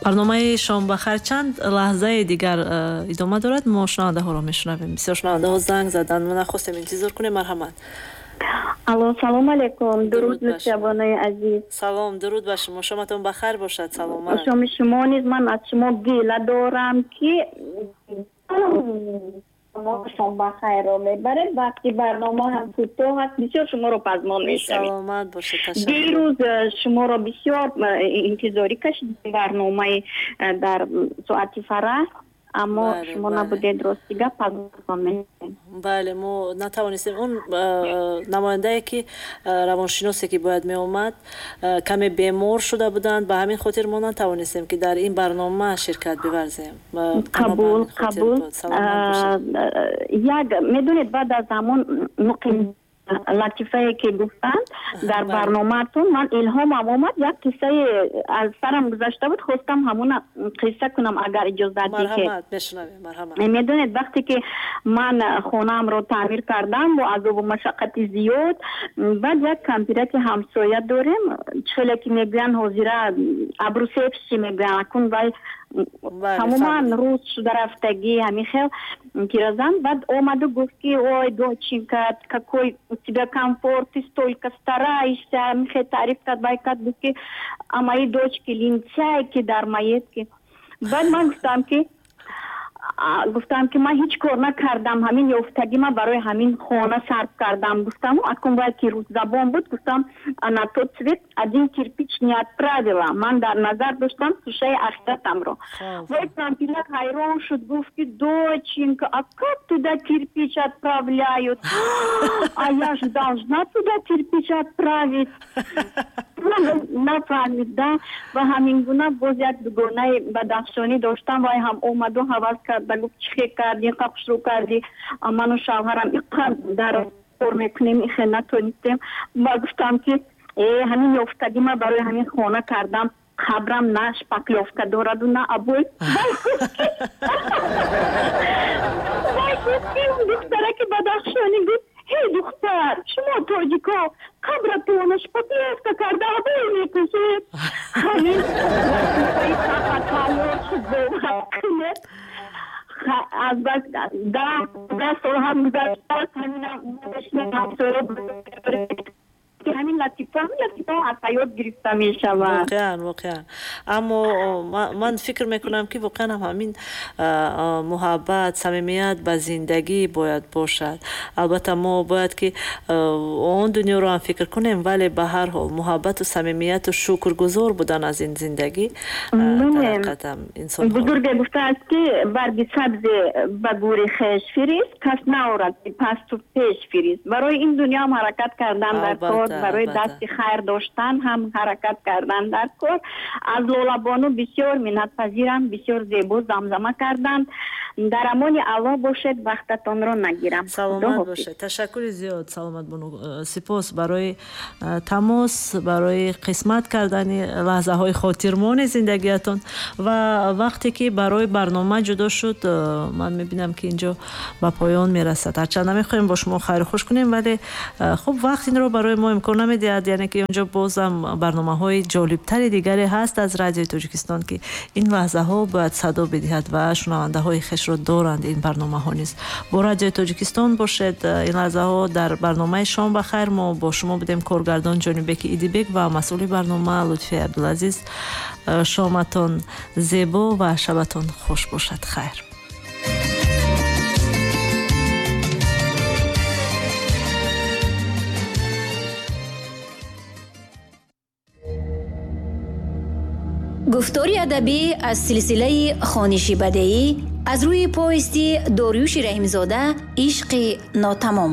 Барномаи шом ба хайр чанд лаҳзаи дигар идома дорад. Мо шунавандаҳоро мешунавем. Бисёр шунавандаҳо занг заданд, мо нахостем интизор кунем. Марҳамат. Алло, салом алейкум. Дуруд, нушабонаи азиз. Салом, дуруд ба шумо. Шоматон ба хайр бошад, саломат. Шоми шумо низ. Ман аз шумо гила дорам, ки шом ба хайрро мебаред. Вақти барнома ҳам кӯтоҳ аст, бисёр шуморо пазмон мешавем. Саломат бошед, ташаккур. Дирӯз шуморо бисёр интизорӣ кашидем, барномаи дар соати фараҳ, аммо шумо набудед. Рости гап, пазмон мешавем. Бале, мо натавонистем. Он намояндае ки, равоншиносе ки бояд меомад, каме бемор шуда буданд, ба ҳамин хотир мо натавонистем, ки дар ин барнома ширкат биварзем. Қабул, қабул. Як медонед, баъд аз ҳамон муқим латифае ки гуфтанд дар барномаатон, ман илҳомам омад, як қиссае аз сарам гузашта буд, хостам ҳамона қисса кунам, агар иҷозат диҳед. Медонед, вақте ки ман хонаамро таъмир кардам бо азобу машаққати зиёд, баъд як кампираки ҳамсоя дорем, чӣ хеле ки мегӯянд, ҳозира обрусевший мегӯянд, акун вай тамоман рӯз шуда рафтагӣ, ҳамин хел пиразан. Баъд омаду гуфт, ки: «Ой, доченька, какой у тебя комфорт, ты столько стараешься». Ҳамин хел таъриф кард, вай кард, гуфт, ки: «А мои дочки лентяйки, дармоедки». Баъд ман гуфтам, ки ман ҳеҷ кор накардам, ҳамин ёфтагӣ ман барои ҳамин хона сарф кардам, гуфтам. Акун вай ки русзабон буд, гуфтам: «На тот свет один кирпич не отправила». Ман дар назар доштам тӯшаи ахиратамро. Вай кампирак ҳайрон шуд, гуфт, ки: «Доченька, а как туда кирпич отправляют? А я же должна туда кирпич отправить». Нафаҳмид да. Ва ҳамин гуна боз як дугонаи бадахшонӣ доштам, вай ҳам омаду ҳавас карда гуфт: «Чӣ хел кардӣ, инқа хушрӯ кардӣ? Ману шавҳарам иқадар кор мекунем, ихел натонистем». Ва гуфтам, ки э, ҳамин ёфтагӣ ман барои ҳамин хона кардам, қабрам на шпаклёвка дораду, на обой. Вай гуфт, ки духтараки бадахшонӣ гуфт: «Ҳей, духтар, шумо тоҷико қабратона шпаклёвка карда, обой мекушед». Ҳамин тайёр шуд, бовар кунед, аз бас 10 сол ҳам гузаштааст, ҳаминам ҳамин латифа, ҳамин латифа аз ҳаёт гирифта мешавад. Воқеан, воқеан. Аммо ман фикр мекунам, ки воқеан ҳам ҳамин муҳаббат, самимият ба зиндагӣ бояд бошад. Албатта, мо бояд ки он дунёро ҳам фикр кунем, вале ба ҳар ҳол муҳаббату самимияту шукргузор будан аз ин зиндагӣ дар ҳақиқат инсон. Бузурге гуфтааст, ки барги сабзе ба гӯри хеш фирист, кас наорад пасту пеш фирист. Барои ин дунё ҳам ҳаракат кардан дар кор, барои дасти хайр доштан ҳам ҳаракат кардан дар кор. Аз Лолабону бисёр миннатпазирам, бисёр зебо замзама карданд. Дар амони Аллоҳ бошед, вақтатонро нагирам. Саломат бошед, ташаккури зиёд, Саломат бону. Сипос барои тамос, барои қисмат кардани лаҳзаҳои хотирмони зиндагиятон. Ва вақте ки барои барнома ҷудо шуд, ман мебинам, ки инҷо ба поён мерасад. Ҳарчанд намехоҳем бо шумо хайру хуш кунем, вале хуб, вақт инро барои мо имкон намедиҳад. Яъне ки онҷо бозам барномаҳои ҷолибтари дигаре ҳаст аз Радиои Тоҷикистон, ки ин лаҳзаҳо бояд садо бидиҳад ва шунавандаҳои хешро доранд. Ин барномаҳо низ бо Радиои Тоҷикистон бошед. Ин лаҳзаҳо дар барномаи шом ба хайр мо бо шумо будем, коргардон Ҷонибеки Идибек ва масъули барнома Лутфи Абдулазиз. Шоматон зебо ва шабатон хуш бошад. Хайр. Гуфтори адабӣ аз силсилаи хониши бадеӣ аз рӯи повести Дориюши Раҳимзода «Ишқи нотамом».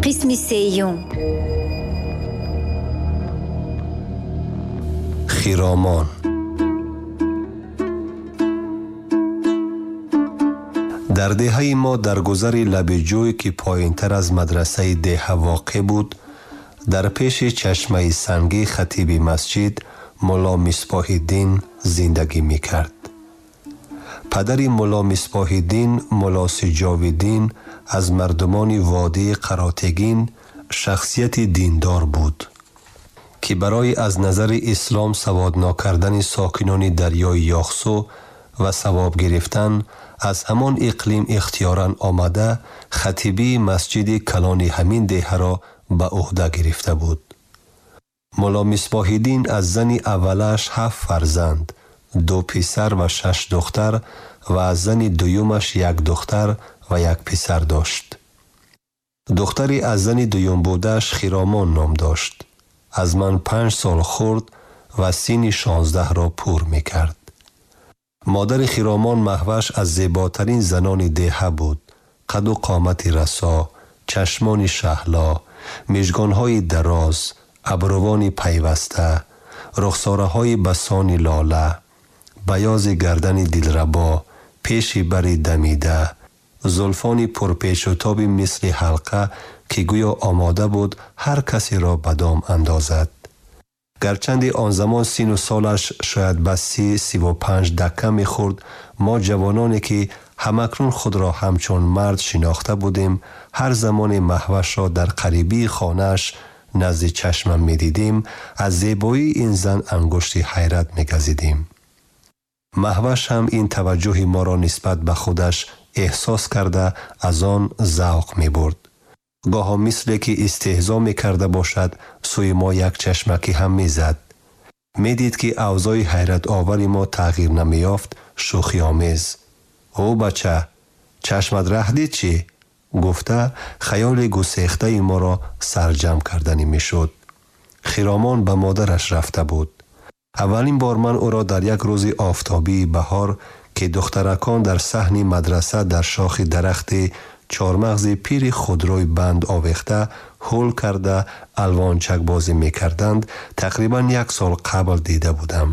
Қисми сеюм. Хиромон. Дар деҳаи мо, дар гузари лаби ҷӯй, ки поинтар аз мадрасаи деҳа воқеъ буд, дар пеши чашмаи сангӣ, хатиби масҷид Мулло Мисбоҳиддин зиндагӣ мекард. Падари Мулло Мисбоҳиддин, Мулло Сиҷовиддин, аз мардумони водии Қаротегин, шахсияти диндор буд, Ки барои аз назари ислом саводнок кардани сокинони дарёи Яхсу ва савоб гирифтан аз ҳамон иқлим ихтиёран омада, хатибии масҷиди калони ҳамин деҳаро ба уҳда гирифта буд. Мулло Мисбоҳиддин аз зани аввалаш ҳафт фарзанд, ду писар ва шаш духтар ва аз зани дуюмаш як духтар ва як писар дошт. Духтари аз зани дуюм будааш Хиромон ном дошт. Аз ман 5 сол хурд ва синни 16-ро пур мекард. Модари Хиромон Маҳваш аз зеботарин занони деҳа буд. Қаду қомати расо, чашмони шаҳло, мижгонҳои дароз, абрувони пайваста, рухсораҳои басони лола, баёзи гардани дилрабо, пеши бари дамида, зулфони пурпечутоби мисли ҳалқа, ки гӯё омода буд ҳар касеро ба дом андозад. Гарчанде он замон сину солаш шояд ба 30, 35 дакка мехӯрд, мо ҷавононе, ки ҳамакнун худро ҳамчун мард шинохта будем, ҳар замоне Маҳвашро дар қарибии хонааш назди чашмам медидем, аз зебоии ин зан ангушти ҳайрат мегазидем. Маҳваш ҳам ин таваҷҷӯҳи моро нисбат ба худаш эҳсос карда, аз он завқ мебурд. Гоҳо мисле ки истеҳзо мекарда бошад, сӯи мо як чашмакӣ ҳам мезад. Медид, ки авзои ҳайратовари мо тағйир намеёфт, шӯхиомез: «Ӯ бача, чашмат раҳ дид чӣ?» гуфта, хаёли гусехтаи моро сарҷамъ карданӣ мешуд. Хиромон ба модараш рафта буд. Аввалин бор ман ӯро дар як рӯзи офтобии баҳор, ки духтаракон дар саҳни мадраса дар шохи дарахти чормағзи пири худрӯй банд овехта, ҳул карда, алвончакбозӣ мекарданд, тақрибан як сол қабл дида будам.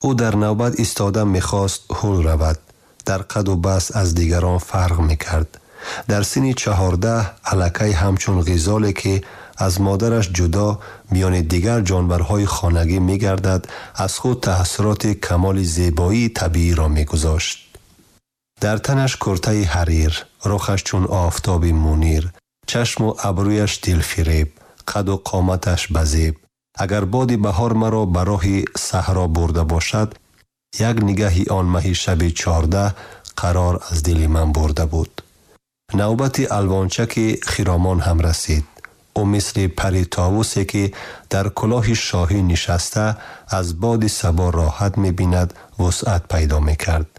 Ӯ дар навбат истода мехост ҳул равад. Дар қаду баст аз дигарон фарқ мекард. Дар синни 14 аллакай ҳамчун ғизоле, ки аз модараш ҷудо миёни дигар ҷонварҳои хонагӣ мегардад, аз худ таассуроти камоли зебоии табииро мегузошт. Дар танаш куртаи ҳарир, рухаш чун офтоби мунир, чашму абрӯяш дилфиреб, қаду қоматаш базеб. Агар боди баҳор маро ба роҳи саҳро бурда бошад, як нигаҳи он маҳи шаби 14 қарор аз дили ман бурда буд. Навбати алвончаки Хиромон ҳам расид. Ӯ мисли пари товусе, ки дар кулоҳи шоҳӣ нишаста, аз боди сабо роҳат мебинад, вусъат пайдо мекард.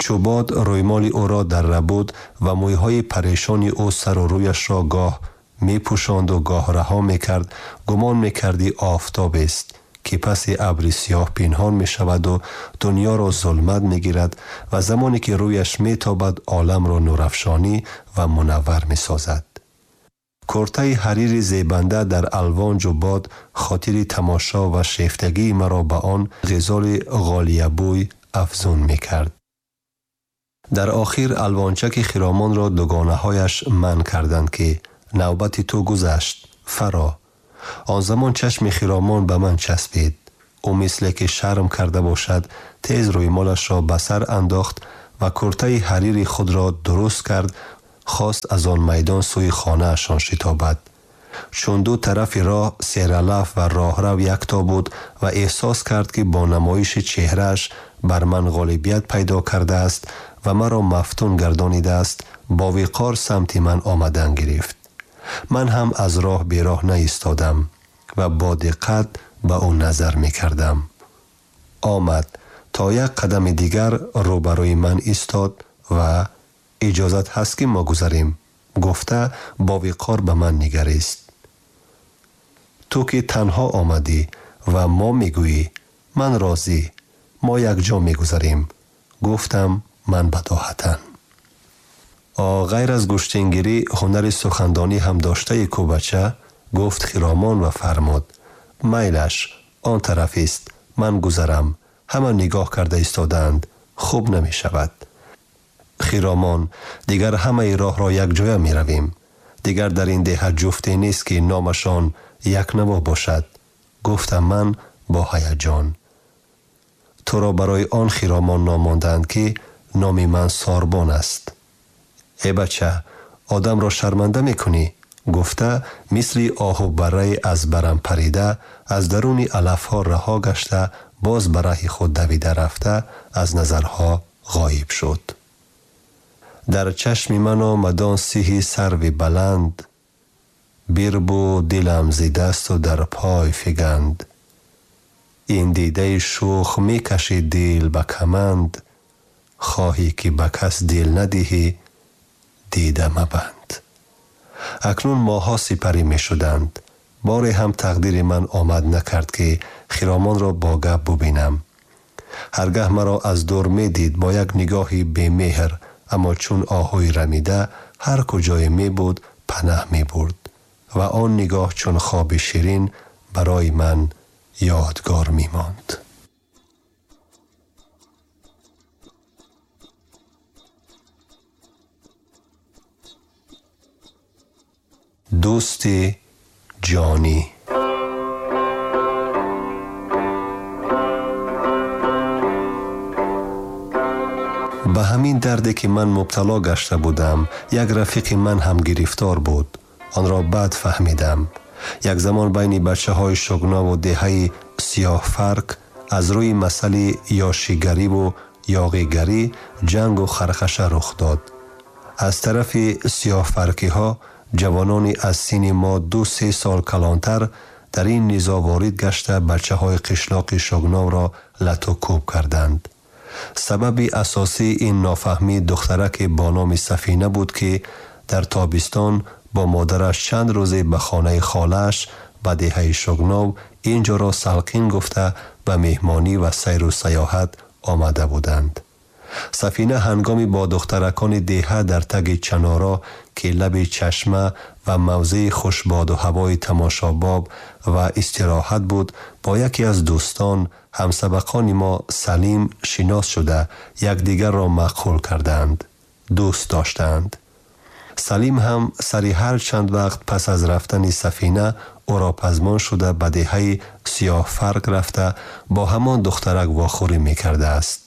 Чӯбод рӯймоли ӯро дарра буд ва мӯйҳои парешони ӯ сару рӯяшро гоҳ мепӯшонду гоҳ раҳо мекард, гумон мекардӣ офтобест, ки паси абри сиёҳ пинҳон мешаваду дунёро зулмат мегирад ва замоне ки рӯяш метобад, оламро нурафшонӣ ва мунаввар месозад. Куртаи ҳарири зебанда дар алвонҷу бод хотири тамошо ва шефтагии маро ба он ғизоли ғолиябӯй афзун мекард. Дар охир алвончаки Хиромонро дугонаҳояш манъ карданд, ки навбати ту гузашт, фаро. Он замон чашми Хиромон ба ман часпид. Ӯ мисле ки шарм карда бошад, тез рӯймолашро ба сар андохт ва куртаи ҳарири худро дуруст кард, хост аз он майдон сӯи хонаашон шитобад. Чун ду тарафи роҳ сералаф ва роҳрав якто буд ва эҳсос кард, ки бо намоиши чеҳрааш бар ман ғолибият пайдо кардааст ва маро мафтун гардонидааст, бо виқор самти ман омадан гирифт. Ман ҳам аз роҳ бероҳ наистодам ва бо диққат ба ӯ назар мекардам. Омад, то як қадами дигар рӯбарӯи ман истод ва «Иҷозат ҳаст, ки мо гузарем?» гуфта, бо виқор ба ман нигарист. «Ту ки танҳо омадӣ ва мо мегӯӣ, ман розӣ, мо якҷо мегузарем», гуфтам ман бадоҳатан. «Ғайр аз гӯштингирӣ ҳунари сухандонӣ ҳам доштаи ку, бача», гуфт Хиромон ва фармуд: «Майлаш, он тарафист, ман гузарам, ҳама нигоҳ карда истодаанд, хуб намешавад». «Хиромон, дигар ҳамаи роҳро якҷоя меравем. Дигар дар ин деҳа ҷуфте нест, ки номашон якнаво бошад», гуфтам ман бо ҳаяҷон. «Туро барои он Хиромон ном мондаанд, ки номи ман Сорбон аст». «Э бача, одамро шарманда мекунӣ», Гуфта мисли оҳу барраи аз барам парида, аз даруни алафҳо раҳо гашта, боз ба раҳи худ давида рафта, аз назарҳо ғоиб шуд. Дар чашми ман омад он сиҳи сарви баланд, бирбуд дилам зи дасту дар пой фиганд. Ин дидаи шӯх мекашид дил ба каманд, хоҳӣ ки ба кас дил надиҳӣ, дида мабанд. Акнун моҳҳо сипарӣ мешуданд. Боре ҳам тақдири ман омад накард, ки Хиромонро бо гап бубинам. Ҳаргаҳ маро аз дур медид бо як нигоҳи бемеҳр, аммо чун оҳуи рамида ҳар куҷое мебуд панаҳ мебурд ва он нигоҳ чун хоби ширин барои ман ёдгор мемонд. Дӯсти ҷонӣ. Ба ҳамин дарде ки ман мубтало гашта будам, як рафиқи ман ҳам гирифтор буд. Онро бад фаҳмидам. Як замон байни бачаҳои Шугнову деҳаи Сиёҳфарк аз рӯи масъали ёшигариву ёғигарӣ ҷангу хархаша рух дод. Аз тарафи сиёҳфаркиҳо ҷавонони аз синни мо 2-3 сол калонтар дар ин низоъ ворид гашта бачаҳои қишлоқи Шугновро лату кӯб карданд. Сабаби асосии ин нофаҳмӣ духтараке бо номи Сафина буд, ки дар тобистон бо модараш чанд рӯзе ба хонаи холааш ба деҳаи Шугнов ин ҷоро салқин гуфта ба меҳмонӣ ва сайру саёҳат омада буданд. Сафина ҳангоми бо духтаракони деҳа дар таги чаноро, ки лаби чашма ва мавзеи хушбоду ҳавои тамошобоб ва истироҳат буд, бо яке аз дӯстон, ҳамсабақони мо Салим шинос шуда, якдигарро маъқул карданд, дӯст доштанд. Салим ҳам сари ҳар чанд вақт пас аз рафтани Сафина ӯро пазмон шуда ба деҳаи Сиёҳфарк рафта бо ҳамон духтарак вохӯрӣ мекардааст.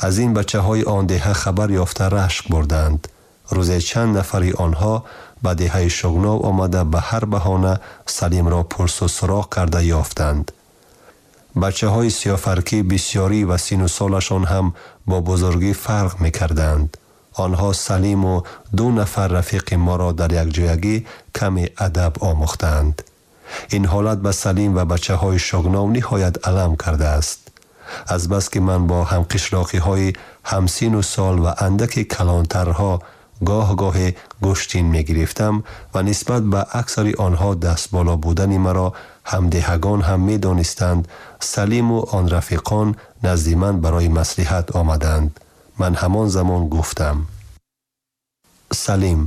Аз ин бачаҳои он деҳа хабар ёфта рашк бурданд. Рӯзе чанд нафари онҳо ба деҳаи Шугнов омада ба ҳар баҳона Салимро пурсу суроғ карда ёфтанд. Бачаҳои сиёҳфаркӣ бисёрӣ ва сину солашон ҳам бо бузургӣ фарқ мекарданд. Онҳо Салиму 2 нафар рафиқи моро дар якҷоягӣ каме адаб омӯхтанд. Ин ҳолат ба Салим ва бачаҳои Шугнов ниҳоят алам кардааст. Азбаски ман бо ҳамқишлоқиҳои ҳамсину сол ва андаки калонтарҳо гоҳ-гоҳе гӯштин мегирифтам ва нисбат ба аксари онҳо дастболо будани маро ҳамдеҳагон ҳам медонистанд, Салиму он рафиқон назди ман барои маслиҳат омаданд. Ман ҳамон замон гуфтам: Салим,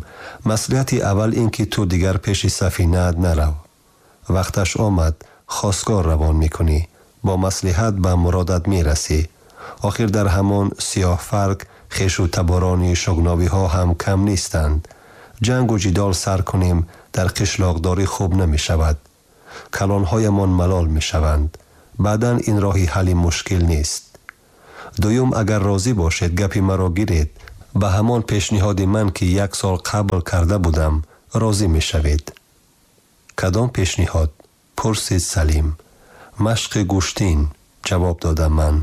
маслиҳати аввал ин ки ту дигар пеши Сафинаат нарав. Вақташ омад, хостгор равон мекунӣ, бо маслиҳат ба муродат мерасӣ. Охир дар ҳамон Сиёҳфарк хешу таборони шугновиҳо ҳам кам нестанд. Ҷангу ҷидол сар кунем дар қишлоқдорӣ хуб намешавад. Калонҳоямон малол мешаванд. Баъдан ин роҳи ҳалли мушкил нест. Дуюм, агар розӣ бошед, гапи маро гиред. Ба ҳамон пешниҳоди ман, ки 1 сол қабл карда будам, розӣ мешавед. Кадом пешниҳод? Пурсид Салим. Машқи гӯштин, ҷавоб додам ман.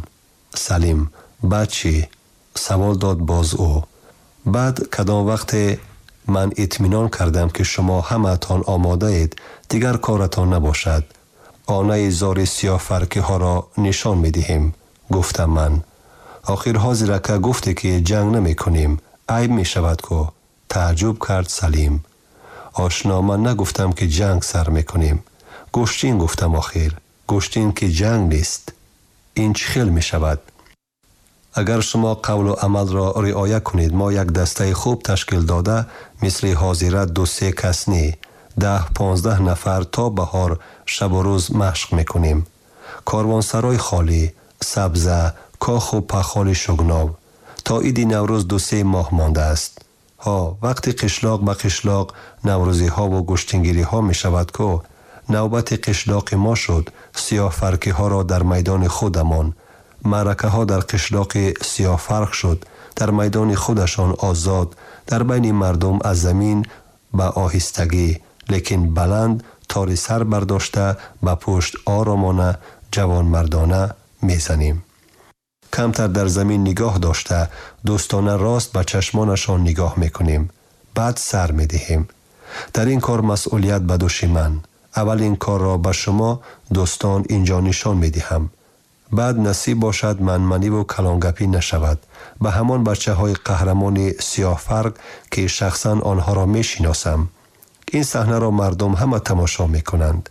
Салим: баъд чӣ? Савол дод боз ӯ. Баъд кадом вақте ман итминон кардам, ки шумо ҳамаатон омодаед, дигар коратон набошад. Онаи зори сиёҳфаркиҳоро нишон медиҳем, гуфтам ман. Охир ҳозирака гуфте, ки ҷанг намекунем, айб мешавад ку. Тааҷҷуб кард Салим. Ошно, ман нагуфтам, ки ҷанг сар мекунем. Гӯштин гуфтам охир. Гӯштин ки ҷанг нест. Ин чӣ хел мешавад? Агар шумо қавлу амалро риоя кунед, мо як дастаи хуб ташкил дода, мисли ҳозира 2-3 кас не, 10-15 нафар то баҳор шабу рӯз машқ мекунем. Корвонсарой холӣ, сабза, коху пахоли Шугнов. То иди Наврӯз 2-3 моҳ мондааст. Ҳо, вақти қишлоқ ба қишлоқ наврӯзиҳову гӯштингириҳо мешавад ку, навбати қишлоқи мо шуд, сиёҳфаркиҳоро дар майдони худамон, маъракаҳо дар қишлоқи Сиёҳфарқ шуд, дар майдони худашон озод, дар байни мардум аз замин Ба оҳистагӣ, лекин баланд тори сар бардошта, ба пушт оромона, ҷавонмардона мезанем. Камтар дар замин нигоҳ дошта, дӯстона рост ба чашмонашон нигоҳ мекунем. Баъд сар медиҳем. Дар ин кор масъулият ба дӯши ман. Аввал ин корро ба шумо дӯстон инҷо нишон медиҳам. Баъд насиб бошад манманиву калонгапӣ нашавад. Ба ҳамон бачаҳои қаҳрамони Сиёҳфарқ, ки шахсан онҳоро мешиносам. Ин саҳнаро мардум ҳама тамошо мекунанд.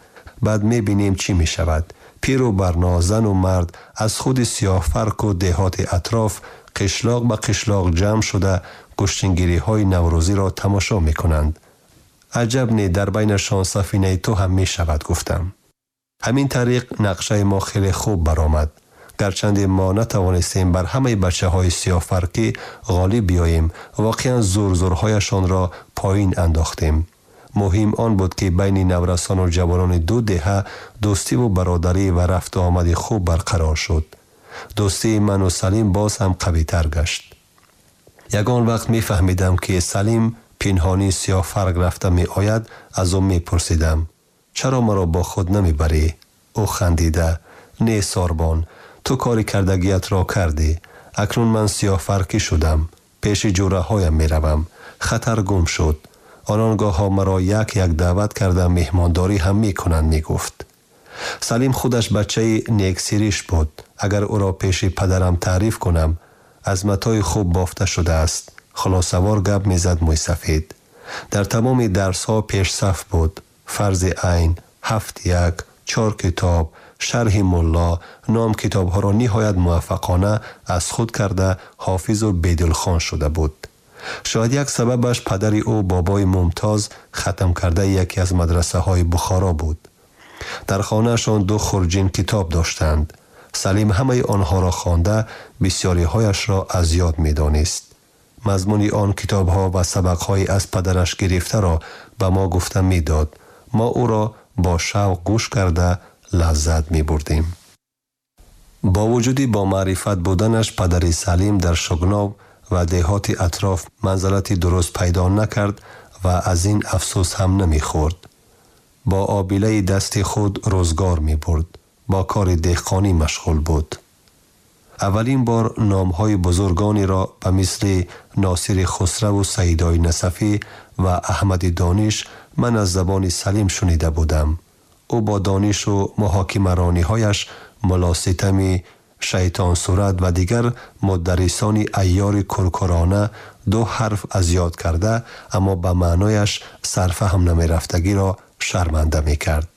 Баъд мебинем чӣ мешавад. Пиру барно, зану мард аз худи Сиёҳфарқу деҳоти атроф қишлоқ ба қишлоқ ҷамъ шуда гӯштингириҳои наврӯзиро тамошо мекунанд. Аҷаб не, дар байнашон сафинаи ту ҳам мешавад, гуфтам. Ҳамин тариқ нақшаи мо хеле хуб баромад. Гарчанде мо натавонистем бар ҳамаи бачаҳои Сиёҳфарқӣ ғолиб биёем, воқеан зурзурҳояшонро поин андохтем. Муҳим он буд, ки байни наврасону ҷавонони ду деҳа дӯстиву бародарӣ ва рафту омади хуб барқарор шуд. Дӯстии ману Салим боз ҳам қавитар гашт. Ягон вақт мефаҳмидам, ки Салим пинҳонӣ Сиёҳфарқ рафта меояд, аз ӯ мепурсидам: чаро маро бо худ намебарӣ? Ӯ хандида: не, сорбон, ту кори кардагиятро кардӣ. Акнун ман сиёҳфарқӣ шудам, пеши ҷӯраҳоям меравам. Хатар гум шуд. Онон гоҳҳо маро як як даъват карда меҳмондорӣ ҳам мекунанд, мегуфт. Салим худаш бачаи нексириш буд. Агар ӯро пеши падарам таъриф кунам, аз матои хуб бофта шудааст. Хулосавор гап мезад мӯйсафед. Дар тамоми дарсҳо пешсаф буд. Фарзи айн, ҳафт як, чор китоб, шарҳи мулло, ном китобҳоро ниҳоят муваффақона аз худ карда ҳофизу бедилхон шуда буд. Шояд як сабабаш падари ӯ бобои Мумтоз хатмкардаи яке аз мадрасаҳои Бухоро буд. Дар хонаашон ду хурҷин китоб доштанд. Салим ҳамаи онҳоро хонда, бисёриҳояшро аз ёд медонист. Мазмуни он китобҳо ва сабақҳои аз падараш гирифтаро ба мо гуфта медод. Мо ӯро бо шавқ гӯш карда лаззат мебурдем. Бо вуҷуди бомаърифат буданаш падари Салим дар Шугнов ва деҳоти атроф манзалати дуруст пайдо накард ва аз ин афсӯс ҳам намехӯрд. Бо обилаи дасти худ рӯзгор мебурд, бо кори деҳқонӣ машғул буд. Аввалин бор номҳои бузургонеро ба мисли Носири Хусраву Саидои Насафӣ ва Аҳмади Дониш ман аз забони Салим шунида будам. Ӯ бо донишу муҳокимарониҳояш муллоситами шайтонсурат ва дигар мударрисони айёри куркурона ду ҳарф аз ёд карда, аммо ба маънояш сарфаҳм намерафтагиро шарманда мекард.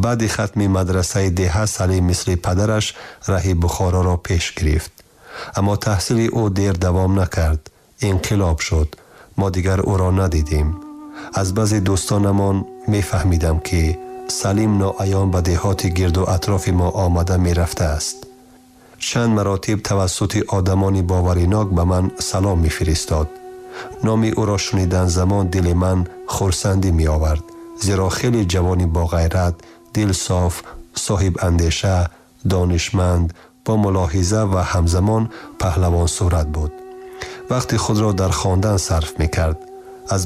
Баъди хатми мадрасаи деҳа Салим мисли падараш раҳи Бухороро пеш гирифт. Аммо таҳсили ӯ дер давом накард. Инқилоб шуд. Мо дигар ӯро надидем. Аз баъзе дӯстонамон мефаҳмидам, ки Салим ноаён ба деҳоти гирду атрофи мо омада мерафтааст. Чанд маротиб тавассути одамони боваринок ба ман салом мефиристод. Номи ӯро шунидан замон дили ман хурсандӣ меовард, зеро хеле ҷавони боғайрат, дилсоф, соҳибандеша, донишманд, бо мулоҳиза ва ҳамзамон паҳлавонсурат буд. Вақти худро дар хондан сарф мекард. Аз